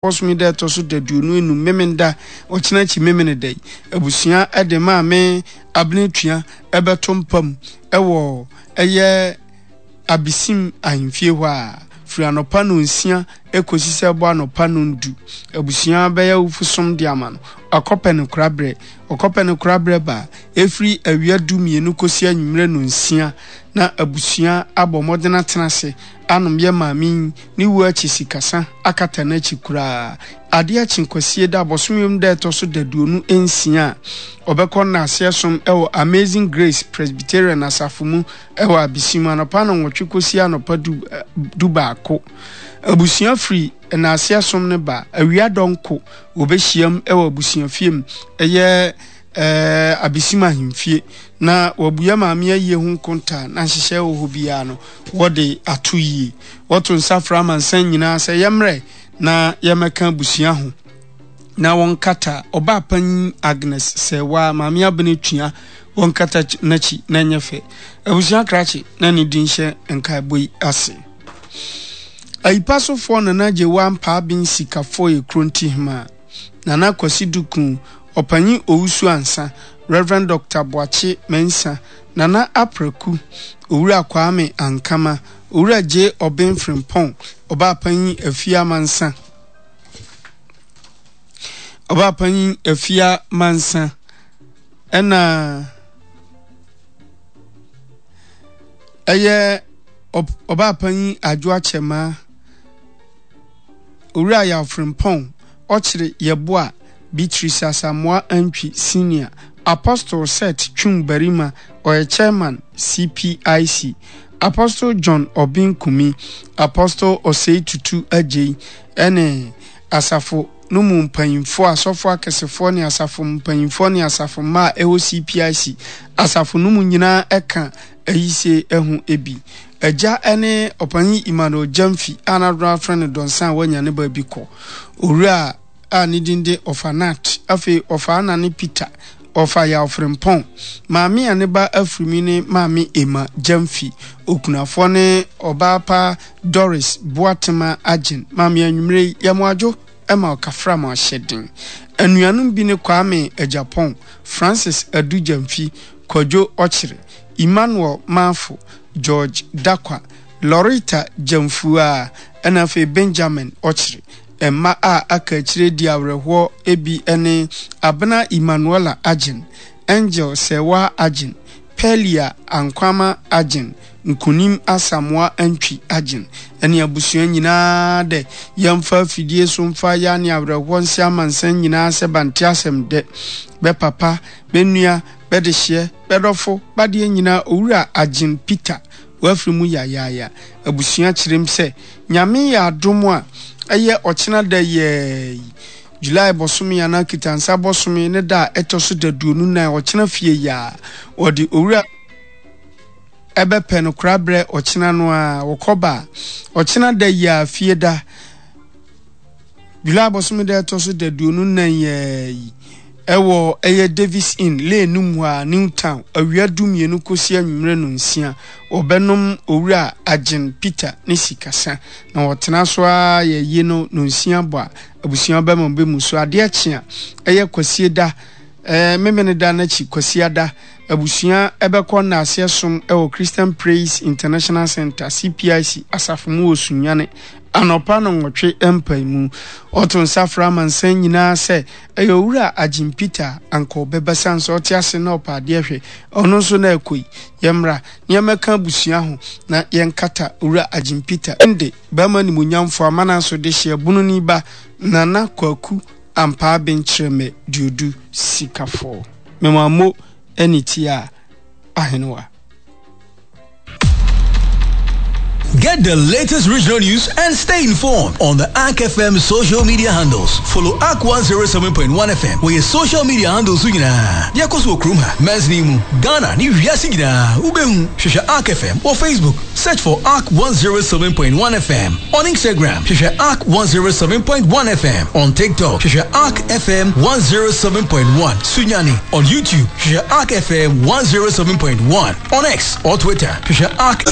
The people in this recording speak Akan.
Bosome da ɛtɔ so daduonu enum, Memenda, ɔkyena akyi Memeneda yi, abusua de Maame Abena Tua bɛto mpa mu wɔ ɛyɛ Abesim ahemfie hɔ a, firi anɔpa nnɔnsia kɔsi sɛ ɛbɔ anɔpa nnɔndu. Abusua bɛyɛ awufosom de ama no. Ɔkɔpɛ no koraberɛ. Ɔkɔpɛ no koraberɛ ba a, ɛfiri awia dumienu kɔsi anwummerɛ nnɔnsia na abusua abɔ mmɔden atena ase anom yɛ maame yi ne wuo akyi sikasa akata n'akyi koraa. Adeɛ akye Kwasie da bosome mu da ɛtɔ so daduonu nsia a, ɔbɛkɔ nnaaseɛ som wɔ Amazing Grace Presbyterian asafo mu wɔ Abesim anɔpa nnɔnwɔtwe kɔsi anɔpa du du baako. Abusua firi nnaaseɛ som no ba a, awia dɔnko wɔbɛhyiam wɔ abusuafie mu ɛyɛ ɛɛ Abesim ahemfie na wɔabua maame ayie ho nkontaa na nhyehyɛɛ wɔ hɔ biara no wɔde ato yie. Wɔto nsa frɛ amansan nyinaa sɛ yɛmmrɛ na yɛmmɛka abusua ho na wɔnkata ɔbaa panyin Agnes Sɛɛwaa, Maame Abena Tua, wɔnkata n'akyi na ɛnyɛ fɛ. Abusua krakye na ne din hyɛ nkaebɔ yi ase. Ayipasofoɔ Nana Gyewaa Mpaaben Sikafoɔ yɛ Kronti Hemaa. Nana Kwasi Duku, Ɔpanyin Owusu Ansa, Rev. Dɔkta Boakye Mensah, Nana Apraku, Owura Kwame Ankama, Owura J. Obeng Frimpong, Ɔbaapanyin Afia Mansa, Ɔbaapanyin Afia Mansa, ɛna ɛyɛ Ɔbaapanyin Adwo Akyɛmaa, Owura Yaw Frimpong, Ɔkyere Yeboah, Beatrice Asamoah Antwi Senior, Apostle Seth Twum Barima, ɔyɛ Chairman, CPIC, Apostle John Obeng Kumi, Apostle Osei Tutu Adjei, ɛne asafo no mu mpanyimfoɔ, asɔfoɔ akɛsefoɔ ne asafo mpanyimfoɔ ne asafo mma a ɛwɔ CPIC asafo no mu nyinaa ɛka ayisie ho bi. Agya ne Ɔpanyin Emmanuel Gyamfi a n'adɔn afrɛ no Dɔnsa a wanya ne baabi kɔ. Owura a ne din de Ɔfa Nat, afei Ɔfa Ana ne Peter, Ɔfa Yaw Frimpong, Maame a ne ba afiri mu ne Maame Emma Gyamfi, okunafoɔ ne Ɔbaa pa Doris Boatema Agyen. Maame anwummere yi, yɛ mo adwo ma ɔkafra mo ahyɛ den. Anuanom bi ne Kwame Agyapong, Francis Adu Gyamfi, Kwadwo Ɔkyere, Emmanuel Marfo, George Dakwa, Loretta Gyamfua, ɛna afei Benjamin Ɔkyere. Mma a aka akyire di awerɛhoɔ bi ne Abena Emmanuella Agyen, Angel Serwaa Agyen, Pearlia Ankwama Agyen, Nkonim Asamoah Antwi Agyen, ne abusua nyinaa dɛ yɛmfa afidie so mfa ya ne awerɛhoɔ nse amansan nyinaa sɛ bante asɛm dɛ, bɛ papa, bɛ nua, bɛ dehyeɛ, bɛ dɔfo, b'adeɛ nyinaa Owura Agyen Peter w'afiri mu yayaaya. Abusua kyerem sɛ Nyame yɛ adom a ɛyɛ ɔkyena da yiaa yi, July bɔsome anaa Kitansa bɔsome ne da a ɛtɔ so daduonu nan ɔkyena fie yiaa, wɔde Owura ɛbɛpɛ no korabrɛ ɔkyena no ara, wɔkɔ ba a, ɔkyena da yiaa fie da, July bosome da ɛtɔ so daduonu nnan yi ara yi ɛwɔ ɛyɛ Davis Inn, Lane no mu a, New Town, awia dumienu kɔsi anwummerɛ nonsia. Wɔbɛnom Owura Agyen Peter ne sikasa, na wɔtena so ara yɛ yie no nonsia bɔ a, abusua bɛma bɛmu so. Adeɛ kye a, ɛyɛ Kwasieda, ɛɛ Memeneda no akyi Kwasiada, abusua bɛkɔ nnaaseɛ som wɔ Christian Praise International Center, CPIC, asafo mu wɔ Sunyani anɔpa nnɔnwɔtwe mpaemu. Ɔto nsa frɛ amansan nyinaa sɛ ɛyɛ Owura Agyen Peter a anka ɔbɛba siane sɛ ɔte ase na ɔpɛ adeɛ hwɛ ɔno nso na ɛkɔ yi. Yɛmmra na yɛmmɛka abusua ho na yɛnkata Owura Agyen Peter de barima animuonyamfoɔ amana so dehyeɛ bononi ba Nana Kwaku Ampaa Benkyerɛmɛ Duodu Sikafɔɔ. Mema mo ne ti a ahenewa. Get the latest regional news and stay informed on the ARK FM social media handles. Follow ARK 107.1 FM wɔ yɛ social media handles so nyinaa. Deɛ ɛkɔ so wɔ kurom ha, mansini mu, Ghana ne wiase nyinaa, wobɛhu. Hwehwɛ ARK FM wɔ Facebook, search for ARK 107.1 FM. On Instagram, hwehwɛ ARK 107.1 FM. On TikTok, hwehwɛ ARK FM 107.1 Sunyani. On YouTube, hwehwɛ ARK FM 107.1. On X or Twitter, hwehwɛ ARK.